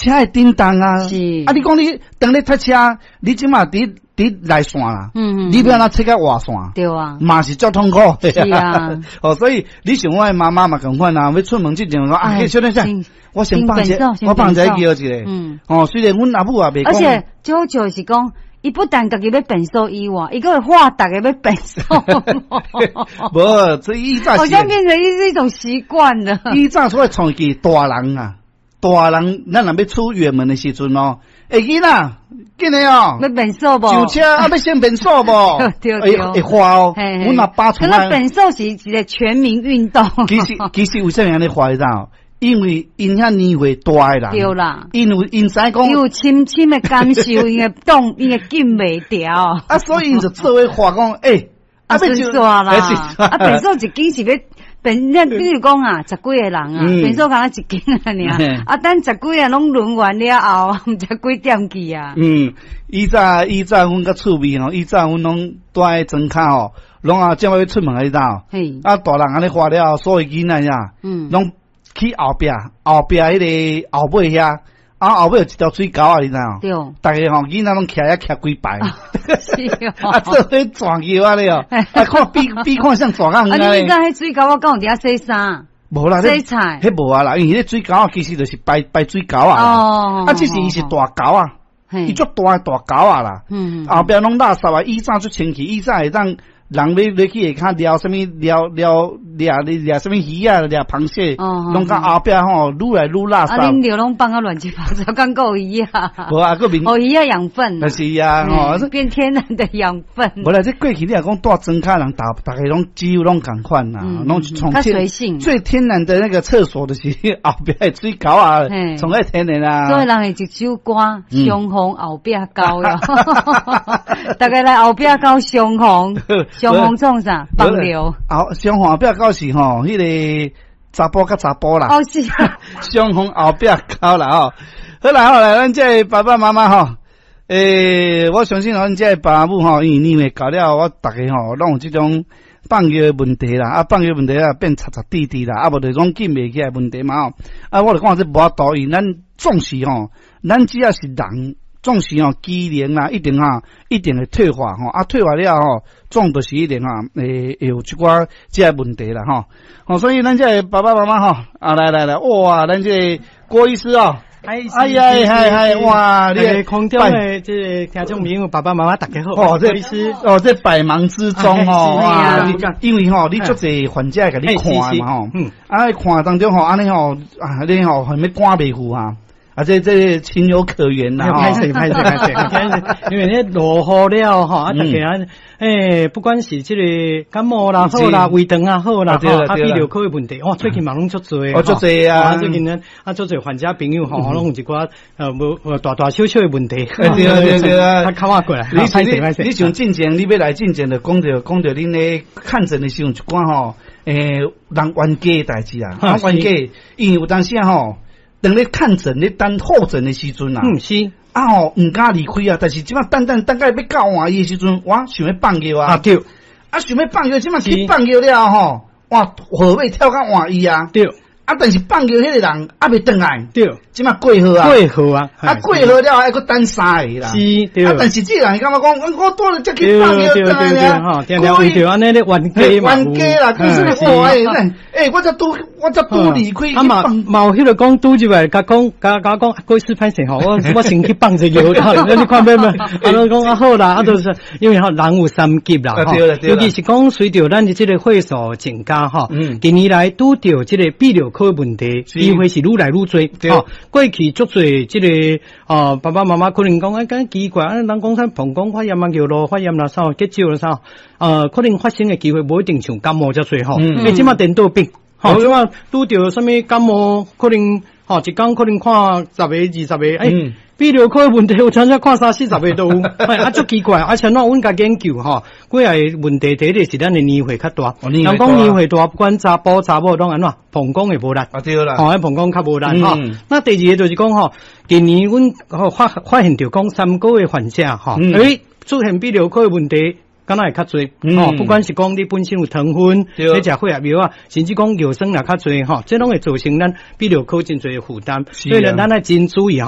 車會振動啊。是。啊，你講你當咧塞車，你這馬佇佇內線啦，你欲按怎切到外線？對啊。嘛是足痛苦。是啊。哦，所以你像我的媽媽嘛仝款啊，欲出門之前講啊，小等下，我先放一，我放一個尿一下。哦，雖然阮阿母也袂講。而且最好笑是講，伊不但家己欲便所以外，伊閣會喝逐家欲便所。無，這以早好像變成一種習慣了。以早出來創起大人啊，大人，咱若欲出遠門的時陣哦，欸，囡仔，緊來哦，欲便所無？上車啊，欲先便所無？對對。會喝哦，阮阿爸可是便所是一個全民運動。其實為啥物按呢喝你知無？因為𪜶遐年歲大的人，對啦，因為𪜶知講有深深的感受，𪜶會擋，𪜶會禁袂牢。啊，所以𪜶就做伙喝講，欸，啊，順煞啦，啊，便所一間是欲便，你比如講啊，十幾個人啊，便所敢若一間按呢，啊，等十幾個攏輪完了後，毋知幾點去啊。嗯，以早阮較趣味吼，以早阮攏蹛佇莊跤吼，攏啊，這擺欲出門你知無？啊，大人按呢喝了後，所有囡仔呀，攏去後壁，後壁彼個後尾遐，啊後尾有一條水溝啊，你知無？對。逐家吼囡仔攏徛遐徛幾排。是哦。啊，做伙轉尿按呢哦，啊看比比看像大人。啊，你知彼水溝我敢有佇遐洗衫？無啦，洗菜。彼無啊啦，因為彼水溝啊，其實就是排排水溝啊。哦。啊，只是伊是大溝啊，伊足大的大溝啊啦。後壁攏垃圾啊，以早足清氣，以早會當。人欲欲去下跤掠啥物掠掠掠掠啥物魚仔，掠螃蟹，攏到後壁吼，愈來愈垃圾。啊，恁尿攏放啊亂七八糟，敢閣有魚仔？無啊，閣面予魚仔養分。但是啊，吼，變天然的養分。無啦，這過去你若講蹛莊跤人，逐逐家攏幾乎攏仝款啦，攏從天最天然的那個廁所，就是後壁的水溝啊，從愛天然啊。所以人會一首歌，相逢後壁溝喲，逐家來後壁溝相逢。相逢創啥？放尿。後相逢後壁溝是吼，彼個查埔佮查埔啦。哦，是啊。相逢後壁溝啦吼。好啦好啦，咱這個爸爸媽媽吼，欸，我相信咱這個爸母吼，因為年歲到了，我逐家吼，攏有這種放尿的問題啦，啊，放尿問題啊，變擦擦滴滴啦，啊，無就講禁袂起來問題嘛吼。啊，我就講這無法度，因為咱總是吼，咱只要是人。總是吼機能啊，一定哈，一定會退化吼，啊，退化了後，總就是一定哈，會會有一寡這個問題啦吼。哦，所以咱這個爸爸媽媽吼，啊，來來來，哇，咱這個郭醫師哦，哎呀，嗨嗨，哇，你空中的這個聽眾朋友爸爸媽媽大家好，哦，這醫師，哦，這百忙之中吼，哇，因為吼，你足濟患者共你看嘛吼，啊，看當中吼，按呢吼，啊，你吼還欲趕袂赴啊。啊，這這情有可原啦！歹勢歹勢歹勢，因為咧落雨了吼，啊，逐家啊，欸，不管是這個感冒啦好啦，胃腸啊好啦，啊，泌尿科的問題，哇，最近嘛攏足濟，哦，足濟啊！最近呢，啊，足濟患者朋友吼，攏有一寡無大大小小的問題，對對對啊，較較我過來。你你你像進前你欲來進前就講著講著恁咧看診的時陣一寡吼，欸，人冤家的代誌啊，啊，冤家，因為有當時吼。當咧看診咧等候診的時陣啊，是啊吼，毋敢離開啊。但是這擺等等等到欲到換醫的時陣，我想欲放尿啊，啊對，啊想欲放尿，這擺去放尿了吼，哇，號碼跳到換醫啊，對。啊，但是放尿彼個人猶未轉來，這擺過號啊，過號啊，啊過號了還閣等三個啦，是，對。啊，但是這個人感覺講，我拄咧才去放尿轉來啊，吼，定定為著按呢咧冤家嘛，冤家啦，其實哇，欸，欸，我才拄離開，啊嘛，嘛有彼個講拄入來，共講，共共講，郭醫師歹勢吼，我先去放一尿，你看欲無？啊，攏講啊好啦，啊，就是因為吼人有三急啦，吼，尤其是講隨著咱的這個歲數增加吼，近年來拄著這個泌尿科問題，機會是愈來愈濟。吼，過去足濟這個哦，爸爸媽媽可能講哎，敢奇怪，啊，人講啥膀胱發炎啊、尿路發炎啦，啥結石啦啥，可能發生的機會無一定像感冒遮濟吼。欸，這馬顛倒變，吼，這馬拄著啥物感冒，可能吼一工可能看十個、20個，欸，泌尿科的問題有陣時看三四十個都有，啊，足奇怪，啊，像怎阮共研究吼，幾個問題，第一個是咱的年歲較大，人講年歲大，不管查埔查某攏按怎，膀胱會無力，啊對啦，吼，膀胱較無力吼。那第二個就是講吼，近年阮發發現著講三高的患者吼，欸，出現泌尿科的問題，敢若會較濟，吼，不管是講你本身有糖分，你食血壓藥啊，甚至講尿酸也較濟吼，這攏會造成咱泌尿科真濟的負擔，所以呢，咱愛真注意吼。